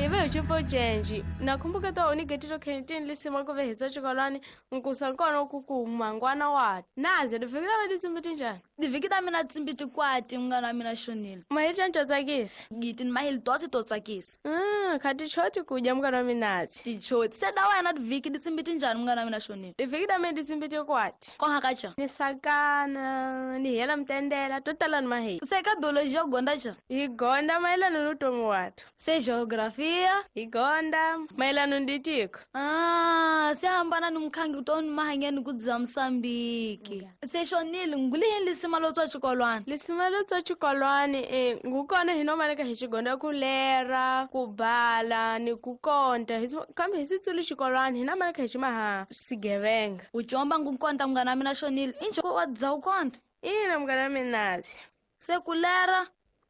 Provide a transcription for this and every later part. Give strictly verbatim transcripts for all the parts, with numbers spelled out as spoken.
Ive uchipo chenji nakumbuka to unigetiro kentini lisima kuve hitso chikolwani nkusa nkono kuku mangwana wa naze divikita mina tsimbi tinjani divikita mina tsimbi tikwati mngana wa mina Shonile mahicha ntsakisi giti ni mahili totsi to tsakisa mm khati choti kudya mngana wa minazi tichoti se da wena diviki ditsimbi tinjani mngana wa mina Shonile divikita mina tsimbi tikwati konha kacha ni sakana ni hela mtendela totala ni mahili se ka biology yo gonda cha hi gonda mayelana ni utomi wathu se geography igonda mayelana nditiko ah se hambana ni mkhangi utoni mahangeni kudza Msambiki okay. Se Shonile ngulihini lisima lo tswa xikolwana lisima lo tswa xikolwani eh ngukona hinomaleka hi xigonda ku lera ku bala ni ku konta kambe hi sitsulu xikolwani hinamaleka hi ximaha sigevenga u chomba ngukonta mngana wa mina Shonile inje wa dza u konta ina mngana minazi se ku lera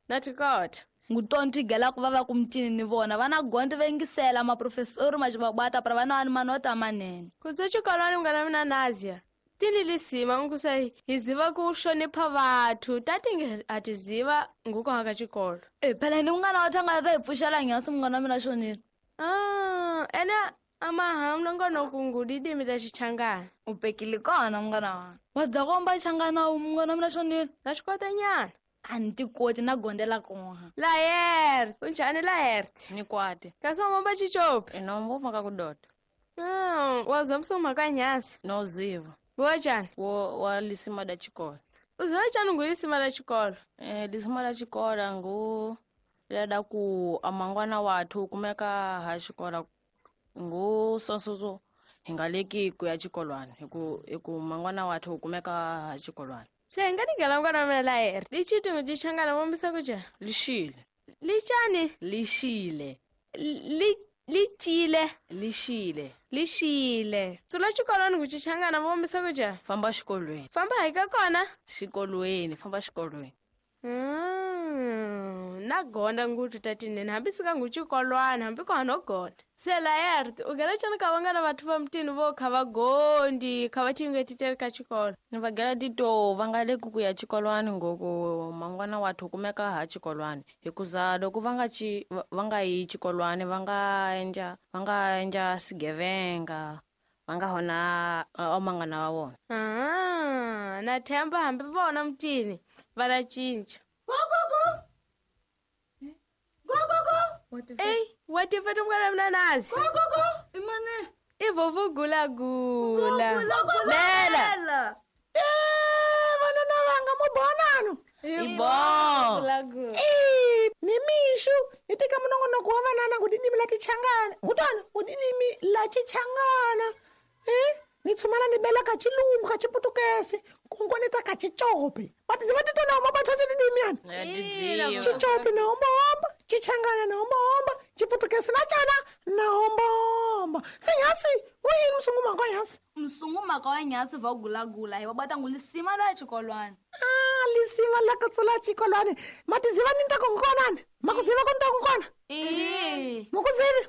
na tikota ngutonto igela ku va va kumtini ni vona vana gonde vengisela maprofesori majibabata para vana wani manota manene kutso xikolwani mngana mina Nazia tini lisima nkusa hi ziva ku hlonipha vathu tatinge a ti ziva nguko ka xikolo e phela ni mngana wa thanga ta hi pfuxela nyasi mngana wa mina Shonile ah ene amaha mlongono kungudidimi ta xichangana u pekile kona mngana wa wa dza komba xichangana mngana wa mina Shonile na swi kota nyana a ni tikoti na gondela konha Laert unjani Laert ni kwati kasi wamomba chichopi inombo maka kudoda mm waza msoma ka nyasi no ziva wachani wo wa lisima da xikolo uziva chani ngu lisima la xikolo eh lisima la xikolo ngu lada ku amangwana wathu kumeka ha xikolo ngu sonsoso hi nga leki ku ya xikolwani hi ku hi ku mangwana wathu kumeka ha xikolwani se nga nigela mngana wa mina Laert lichiti ngitichangana mombisa kuja lixile lichani lixile li lichile lixile lixile tsula xikolwani ku xichangana vombisa kuja famba xikolweni famba hi ka kona xikolweni famba xikolweni mm na gonda ngutu tatinene hambi sika ngu xikolwani hambi ko hano gonda se Laert u gela chani ka vangana vathu va mutini vo kha va gondi kha va tingetiteli ka xikolo ni va gela tito va nga leki ku ya xikolwani ngoku mangwana wathu kumeka ha xikolwani hikuza loko va nga ci va nga yi xikolwani va nga endla va nga endla sigevenga va nga hona omangana wa vona ah na themba hambi vona mutini va la cinca go go go go go go Ey, watifeta mngana mina Nazi go go go imane ivovu gula gula lela eh vana na vanga mubonano ibo gula gula eh ni mishu ni teka munongonoko wa vanana ngudidimi la tichangana ngutana ngudidimi la chichangana eh ni tsumana ni bela ka chilungu ka chiputukese kungone ta ka chichopi batiziva titona uma batho tidimiana chichopi na omba omba chichangana na omba omba chiputukese na chana na omba omba singasi uyini msungu maka nyasi msungu maka nyasi va gula gula hi va bata ngulisima la xikolwani ah lisima la ka tsola xikolwani matiziva ni ta kongonani makuziva konta kongona eh mukuzivi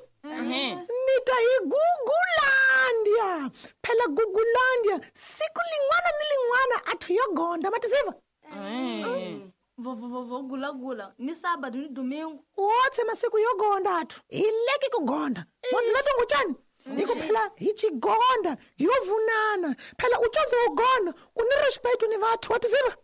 ni ta hi Gugulandia phela Gugulandia siku lin'wana ni lin'wana athu yo gonda matiziva vo vo vo gula gula ni sábado ni domingo wotse masiku yo gonda athu hi leki ku gonda modziva tonguchani iko phela hi chigonda yo vunana phela u coze u gonda u ni respect ni vathu watiziva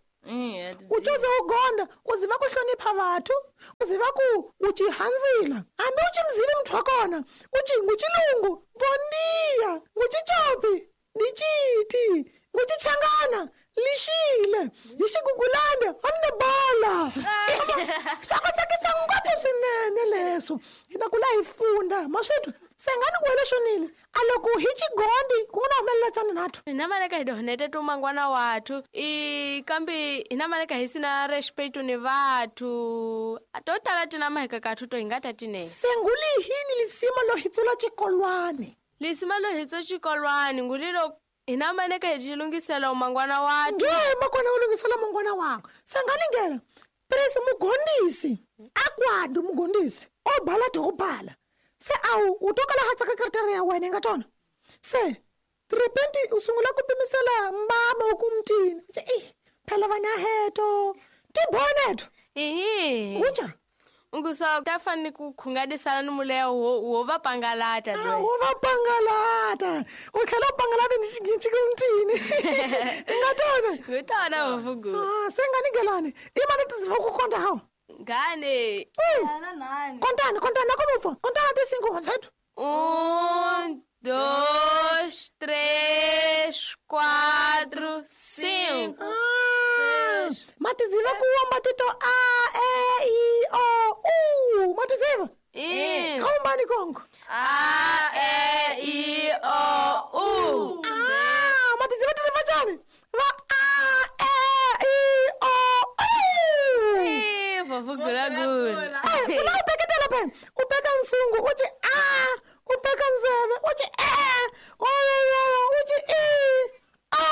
u coze u gonda u ziva ku hlonipha vathu u ziva ku u chihanzila hambi u chimzivi muthu wa kona u chi nguchilungu bondia nguchichopi dichiti nguchichangana lixile hi xigugulanda amna bola swa ku tsakisa ngopfu swinene leswo hi ta kula hi funda maswitwa sengani ku wele Shonile a loko hi xigondi ku nga humelela tsana nathu hina maleka hi donete tu mangwana wathu i kambe hina maleka hi sina respect ni vathu to tala tina maheka kathu to hi nga ta tinene senguli hini lisima lo hitsula xikolwani lisima lo hitso xikolwani ngulilo hina maneka hi tilungisela mangwana wathu nge makona u lungisela mangwana wakho sengani ngena presi mugondisi akwandu mugondisi o bala to bala se awu u tokala hatsa ka kartara ya wena nga tona se trepenti u sungula ku pimisela mbaba u kumtini eh phela vana heto tiboneto ehe uja Ngusa ta fani ku khungadisana ni muleya wo wo va pangalata Ah, loyi. wo va pangalata u tlhela u pangalata ni xikincikintini i nga tona Ngutona vavugula. Ah, se nga ni gelani i mani tiziva ku konta hawa Ngane. kontani kontani nakomupfa kontana ti cinco honseto Um, dois, três, quatro, cinco. Ah, matiziva ku womba tito a e i o u matiziva Um, kaumbani kongo A, E, I, O, U. Ah, matiziva tiliva chani va a e i o u Ih, vovugula gula. Eh, u la u peketela pe u peka nsungu u ci a u peka ndzeve u ci e oyoyoyo u ci i a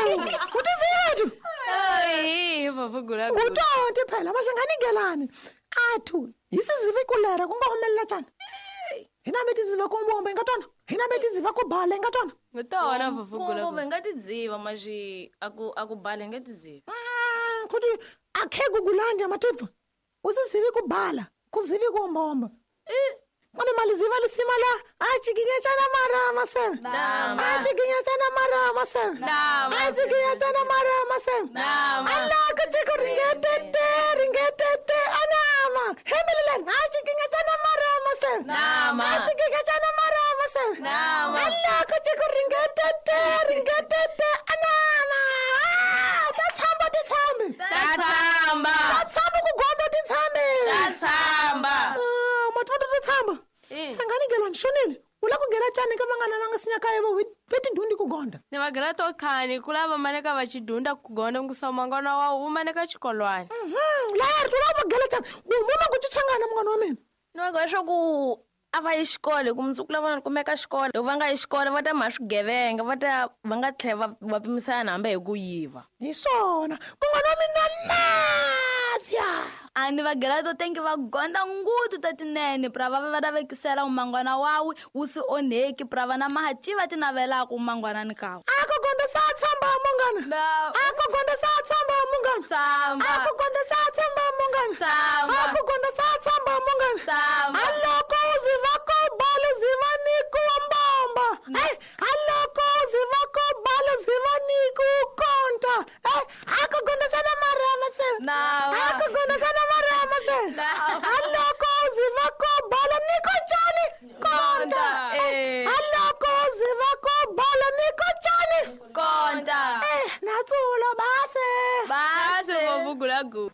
u u tiziva tu Ai, vovugula gula. ngutonti phela maxanganigelani athu hi sizive kulera ku nga humelela cani hina mi tiziva ku mbomba hi nga tona hina mi tiziva ku bala hi nga tona Ngutona vovugula Kumbe gula. hi nga tidziva maxi a ku a ku bala hi nge tidzivi. Mm, kuti akhe kukulanja matibva u sizivi ku bala ku zivi ku ombaomba kambe maliziva lisima la a cikinyacana marama seve a cikinyacana marama seve a cikinyacana marama seve alaka ciko ringetete ringetete anama hembelelani a cikinyacana marama seve a cikinyacana marama seve alaka ciko ringetete ringetete anama Ah, ta tshamba ti tshambi Ta tshamba. ta tshamba ku gonda ti tshambi Ta tshamba. Ah, matoto to tshama Eh. sangani gelani xonile u la ku gela cani ka vanghana va nga sinya kaya vo ve tidyundi ku gonda Ni vagela to khani ku lava maneka va chidunda ku gonda ngusa mangwana wa wu maneka xikolwani. Mhm, laya ri tula va gela cani humuma ku chichangana munghana wa mina Ni va leswaku a va yi xikolo hi ku mundzuku la vona kumeka xikolo loko va nga yi xikolo va ta mha swigevenga va ta va nga tlhela va va pimisana hambi hi ku yiva. Hi swona munghana wa mina nasia A ni vagela to tengi va gonda ngutu ta tinene pra va va vekisela umangwana wawe wu si onheki pra vana mahativa ti navelaka umangwanani kawe. A ku gonda sa tshamba munghana a ku gonda sa tshamba munghana Tshamba. a ku gonda sa tshamba munghana Tshamba. a ku gonda sa tshamba munghana Tshamba. a loko u ziva ku bala ziva ni ku mbomba eh a loko u ziva ku bala ziva ni ku konta eh a ku gonda sana marama se Nama. a ku gonda sana marama se a loko u ziva ku bala ni ku cani konta Eh. a loko u ziva ku bala ni ku cani Konta. eh natsulo base Basi vovugula gula.